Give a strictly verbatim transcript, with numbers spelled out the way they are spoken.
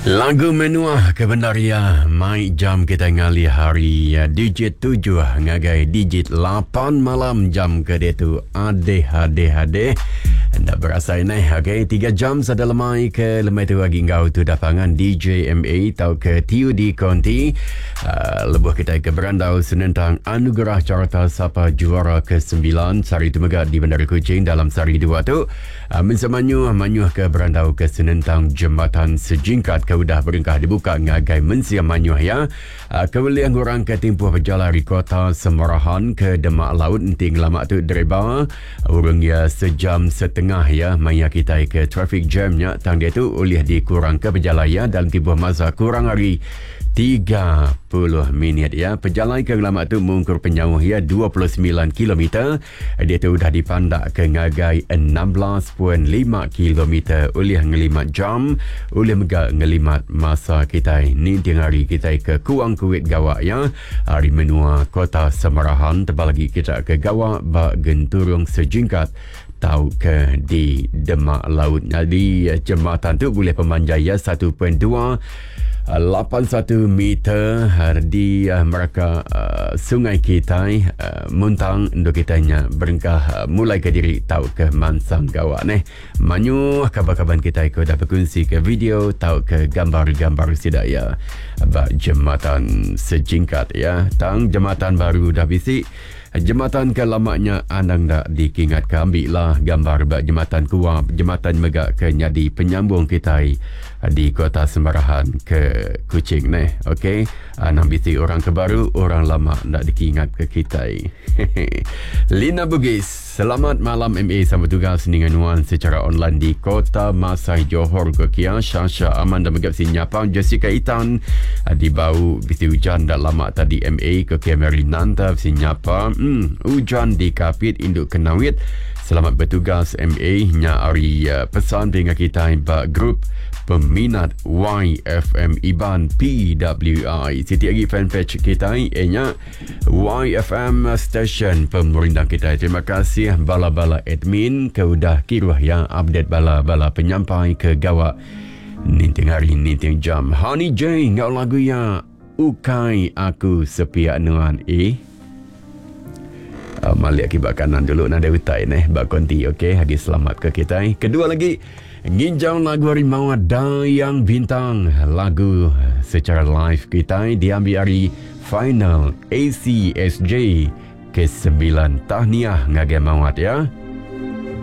Lagu Menua ke bendar iya mai jam kita ngalih hari digit tujuh ngagai digit lapan malam jam ke diatu. Adeh adeh adeh. Enda berasai neh. Okey, tiga jam sada lemai ke lemai tu agi enggau tu dah pangan D J M A tau ke T U D Konti. Uh, lebuh kita ke berandau senentang anugerah carta sapa juara ke sembilan sehari tu mega di Bandar Kuching dalam sehari dua tu. Uh, Mensemanyu manyuh ke berandau ke senentang jembatan sejingkat ke udah berengkah dibuka ngagai mensia manyuh ya. Uh, Kewelian orang ke timpuh berjalan dari kota Semarahan ke Demak Laut enting lama tu dereba urang ya sejam setengah ya maya kita ke traffic jamnya tang dia tu oleh dikurang ke berjalan ya dalam timpuh masa kurang hari tiga puluh minit ya. Perjalanan ke lama tu mungkur penyauh ya dua puluh sembilan kilometer. Dia tu dah dipandak ke ngagai enam belas perpuluhan lima kilometer oleh ngelimat jam, oleh mega ngelimat masa kita ninting hari kita ke Kuang Kuit Gawak ya. Hari menua kota Semarahan tebal lagi kita ke Gawak ba Genturung Sejingkat tau ke di Demak Laut. Jadi jembatan tu boleh pemanjai ya satu perpuluhan dua lapan satu meter di uh, meraka uh, Sungai Kitai uh, Muntang untuk kitanya berengkah uh, mulai ke diri tau ke Mansang Gawak neh. Manyuh kabar-kabar kita ke dah berkongsi ke video tau ke gambar-gambar sidak ya ba jembatan sejingkat ya. Tang jembatan baru dah bisi. Jembatan ke lamanya anang dak dikingat ke ambil lah gambar ba jembatan kuap jembatan mega ke nyadi penyambung kita di kota Semarahan ke Kuching neh. Okey, anang bisi orang ke baru orang lama ndak dikingat ke kita. Lina Bugis, selamat malam M A sama tugas dengan nuan secara online di Kota Masai Johor ke Kia Shasha Aman dan megap sinyapang Jessica Itan di bau bisi hujan dah lama tadi M A ke Kia Mary Nanta sinyapa. Hmm, hujan di Kapit Induk Kenawit. Selamat bertugas M A nya hari uh, pesan dengan kita ba grup peminat Y F M Iban P W I. Siti lagi fanpage kita nya Y F M Station pemerintah kita. Terima kasih bala-bala admin ke udah kiruh yang update bala-bala penyampai ke gawak ninting hari ninting jam. Honey J ngau lagu ya Ukai Aku Sepiak Nuan eh. Uh, malik akibat kanan dulu nada utai neh bak konti okey hagi selamat ke kita. Kedua lagi nginjau lagu Harimau Dayang Bintang lagu secara live kita diambil hari final A C S J ke sembilan. Tahniah ngagai Mawat ya.